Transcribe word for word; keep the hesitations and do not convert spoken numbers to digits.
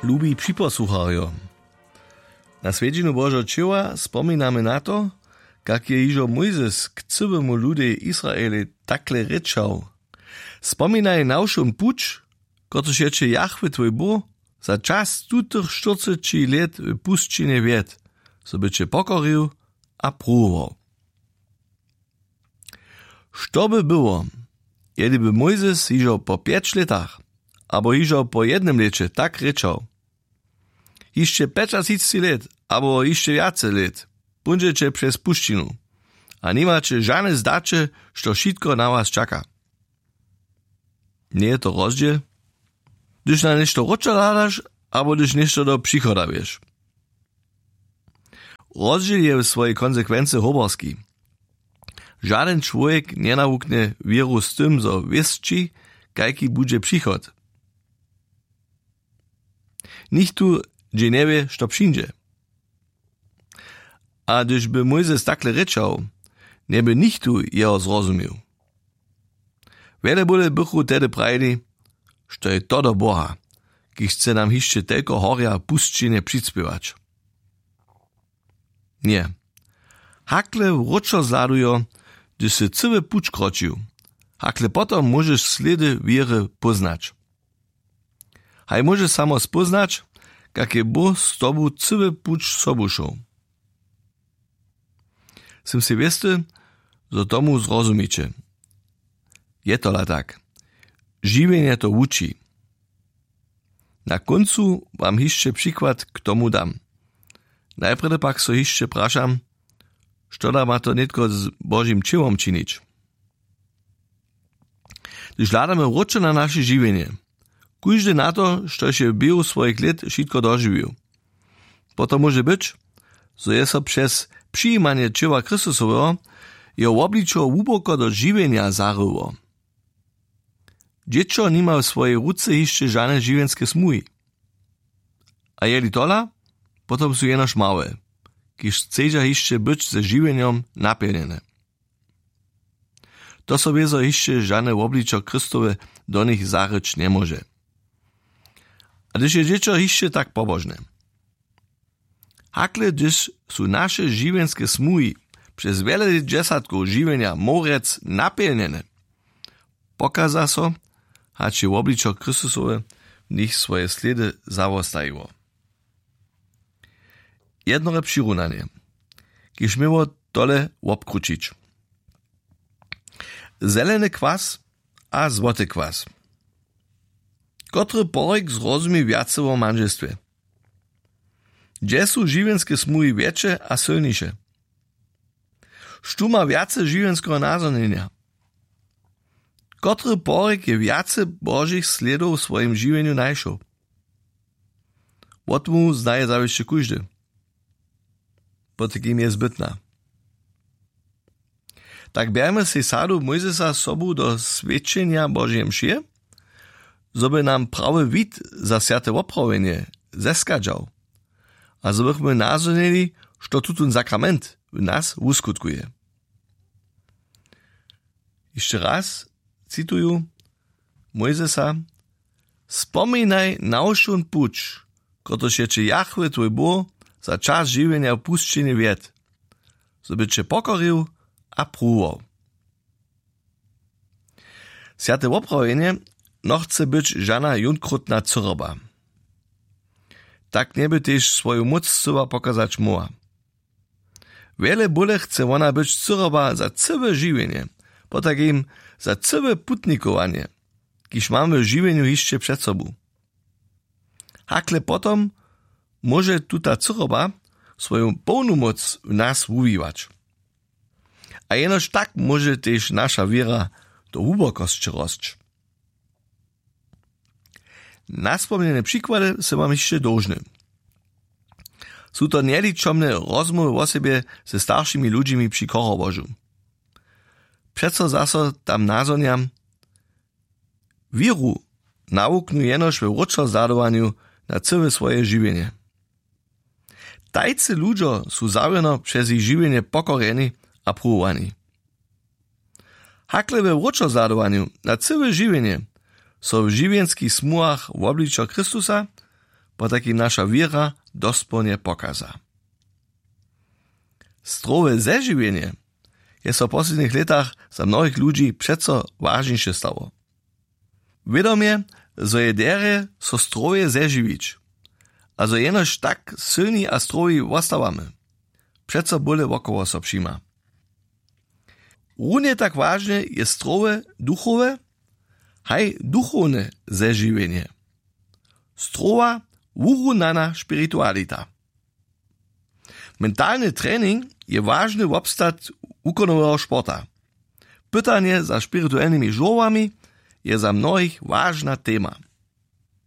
Lubi připosłucharjo, na swjedźinu Božo ćěła spominamy na to, kak je hižo Mójzes k cyłemu ludej Israelej takle rěčał: Spominaj na wšón puć, kotryž je će Jahwe twój Bóh za čas tutych štyrceći lět w pusćinje wjedł, zo by će pokorił a pruwował. Što by było, jeli by Mójzes hižo po pjeć lětach abo hižo po jednym lěće tak rěčał: Hišće pjećatřicci lět abo hišće wjace lět póńdźeće přez pušćinu a nimaće žane zdaće, što wšitko na was čaka? Njeje to rozdźěl, hdyž na něšto wróćo hladaš abo hdyž něšto do přichoda wješ? Rozdźěl je w swojej konsekwency hoberski. Žadyn čłowjek njenawuknje wěru z tym, zo wěsći, kajki budźe přichod. Nichtó dźě njewě, što přińdźe. A hdyž by Mójzes takle rěčał, njeby nichtó jeho zrozumił. Wjele bóle bychu tehdy prajili: Što je to do Boha, kiž chce nam hišće telko horja w pusćinje přispěwać? Ně. Hakle wróćo zhladujo, hdyž sy cyły puć kročił. Hakle potom móžeš slědy wěry póznać. Haj móžeš samo spóznać, kak je Bóh z tobu cyły puć sobu šoł. Sym sej wěsty, zo tomu zrozumiće. Je tola tak. Žiwjenje to wuči. Na kóncu wam hišće přikład k tomu dam. Najprjedy pak so hišće prašam, što da ma to nětko z Božim ćěłom činić? Hdyž hladamy wróćo na naše žiwjenje, kóždy na to, štož je w běhu swojich lět wšitko dožiwił, potom móže być, zo je so přez přijimanje ćěła Chrystusoweho jeho wobličo hłuboko do žiwjenja zaryło. Dźěćo nima w swojej ruce hišće žane žiwjenske smuhi. A jeli tola, potom su jenož małe, kiž chcedźa hišće być ze žiwjenjom napjelnjene. To so wězo hišće žane wobličo Chrystowe do nich zaryć njemóže. A hdyž je dźěćo hišće tak pobožne, hakle hdyž su naše žiwjenske smuhi přez wjele dźesatkow žiwjenja morjec napjelnjene, pokaza so, hač je wobličo Chrystusowe w nich swoje slědy zawostajiło. Jednore přirunanje, kiž měło tole wobkrućić: zeleny kwas a złoty kwas. Kotry porik zrozumi wjace wo mandźelstwje? Hdźe su žiwjenske smuhi wjetše a sylniše? Štó ma wjace žiwjenskeho nazhonjenja? Kotry porik je wjace Božich slědow w swojim žiwjenju najšoł? Wotmołwu znaje zawěsće kóždy. Potajkim je zbytna. Tak bjerjemy sej sadu Mójzesa sobu do swědčenja Božeje mšě, zo by nam prawy wid za swjate woprawjenje zeskadźał a zo bychmy nazhonili, što tutón sakrament w nas wuskutkuje. Hišće raz cituju Mójzesa: Spominaj na wšón puć, kotryž je će Jahwe twój Bóh za čas žiwjenja w pusćinje wjedł, zo by će pokorił a pruwował. Swjate woprawjenje nochce być žana jónkrótna cyroba. Tak njeby tež swoju móc scyła pokazać móhła. Wjele bóle chce wona być cyroba za cyłe žiwjenje, potajkim za cyłe putnikowanje, kiž mamy w žiwjenju hišće před sobu. Hakle potom móže tuta cyroba swoju połnu móc w nas wuwiwać. A jenož tak móže tež naša wěra do hłubokosće rosć. Naspomnjene přikłady sy wam hišće dołžny. Su to njeličomne rozmołwy wosebje ze staršimi ludźimi při chorobožu. Přeco zaso tam nazhonjam: Wěru nawuknu jenož we wróćozhladowanju na cyłe swoje žiwjenje. Tajcy ludźo su zawěrno přez jich žiwjenje pokorjeni a pruwowani. Hakle we wróćozhladowanju na cyłe žiwjenje so w žiwjenskich smuhach wobličo Chrystusa potajkim naša wěra dospołnje pokaza. Strowe zežiwjenje je so w poslednich lětach za mnohich ludźi přeco wažniše stało. Wědomje, zo je derje so strowje zežiwić, a zo jenož tak sylni a strowi wostawamy, přeco bóle wokoło so přima. Runje tak wažne je strowe duchowe, haj duchowne zežiwjenje. Strowa wurunana spiritualita. Mentalny trening je wažny wobstatk wukonoweho sporta. Pytanje za spirituelnymi žurłami je za mnohich wažna tema.